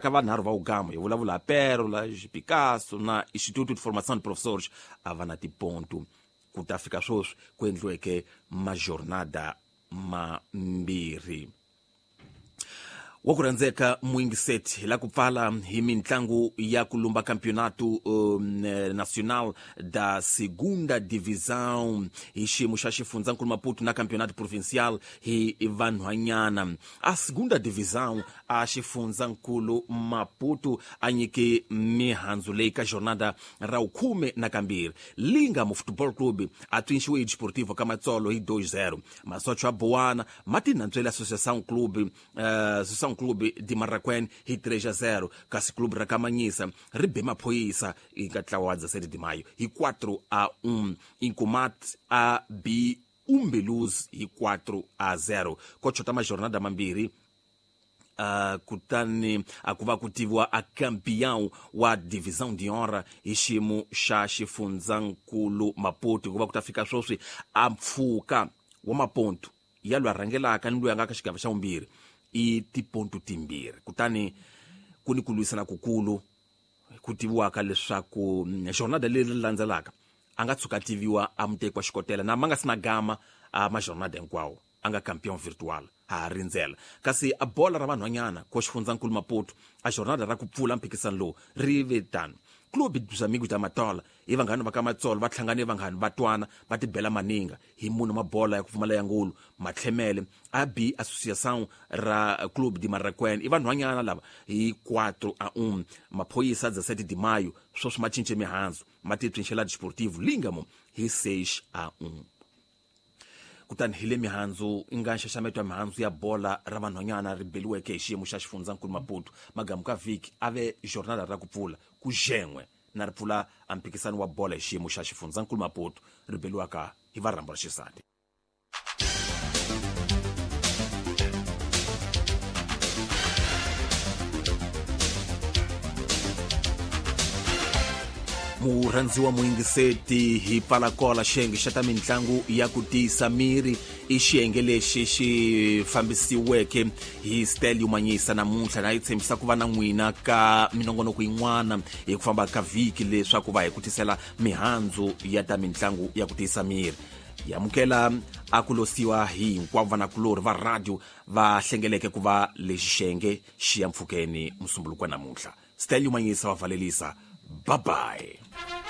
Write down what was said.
Ka vanharhu va ugama hi vulavula Pérola, Picasso na Instituto de Formação de Professores a va na tipontu. Ku ta fika sweswi ku endliweke majornada mambirhi. Wa ku rhandzeka muyingiseti, hi la ku pfala hi mintlangu ya ku lumba Campeonato Nacional da Segunda Divisão hi xiyimo xa xifundzankulu Maputo na Campeonato Provincial hi vanhwanyana. A Segunda Divisão a xifundzankulu Maputo a nyike mihandzu leyi ka jornada ra vukhume na kambirhi. Lingamo Football Club a twinxiwe hi Desportivo ka Matsolo hi 2-0. Masocho ya Boana ma tinantswele Associação Clube Associação Clube de Marraquém hi 3-0, kasi clube ra Kamanyisa ri be Maphoyisa eka ntlawa wa 17 de Maio hi 4-1. Inkomat a b Umbeluz hi 4-0. Ko chota majornada mambirhi, kutani a ku va ku tiviwa a campeão wa Divisão de Honra hi xiyimo xa xifundzankulu Maputo, hikuva ku ta fika sweswi a mpfhuka wa mapontu ya loyi a rhangelaka ni loyi a nga ka xigava xa vumbirhi i tipontu timbirhi. Kutani ku ni ku lwisana kukulu ku tiviwaka leswaku jornada leri landzelaka a nga tshuka tiviwa a muteki wa xikotela na ma nga si na gama a majornada hinkwawo a nga campeão virtual ha rindzela. Kasi a bola ra vanhwanyana ko xifundzankulu Maputo a jornada ra ku pfula mphikisano lowu ri ve tano. Clube dos Amigos da Matola i vanghana va ka Matsolo va hlangane vanghana va twana va tibela maninga hi munhu mabola ya ku pfumala ya ngulu matlhemele a b Associação ra Clube de Marraquém i vanhwanyana lava hi 4-1. Maphoyisa 17 de Maio sweswi ma cince mihandzu ma titswinxela Desportivo Lingamo hi 6-1. Kutani hi le mihandzu i nga nxaxameto ya mihandzu ya bola ra vanhwanyana ri beliweke hi xiyimo xa xifundzankulu Maputo magamu ka vhiki a ve jornada ra ku pfula ku xen'we na ri pfula a mphikisano wa bola hi xiyimo xa xifundzankulu Maputo ri beliwaka hi varhambo ra xisati. Murhandziwa muyingiseti, hi pfala kola xiyenge xa ta mitlangu ya ku tiyisa miri. I xiyenge lexi xi fambisiweke hi Stelio Manyisa namuntlha, na yi tshembisa ku va na n'wina ka minongonoko yin'wana hi ku famba ka vhiki leswaku va hi ku tisela mihandzu ya ta mitlangu ya ku tiyisa miri. Hi amukela a ku losiwa hi hinkwavo vanakulorhi va radio va hlengeleke ku va lexi xiyenge xi ya mpfhukeni musumbuluko wa namuntlha. Stelio Manyisa va valelisa. Bye bye.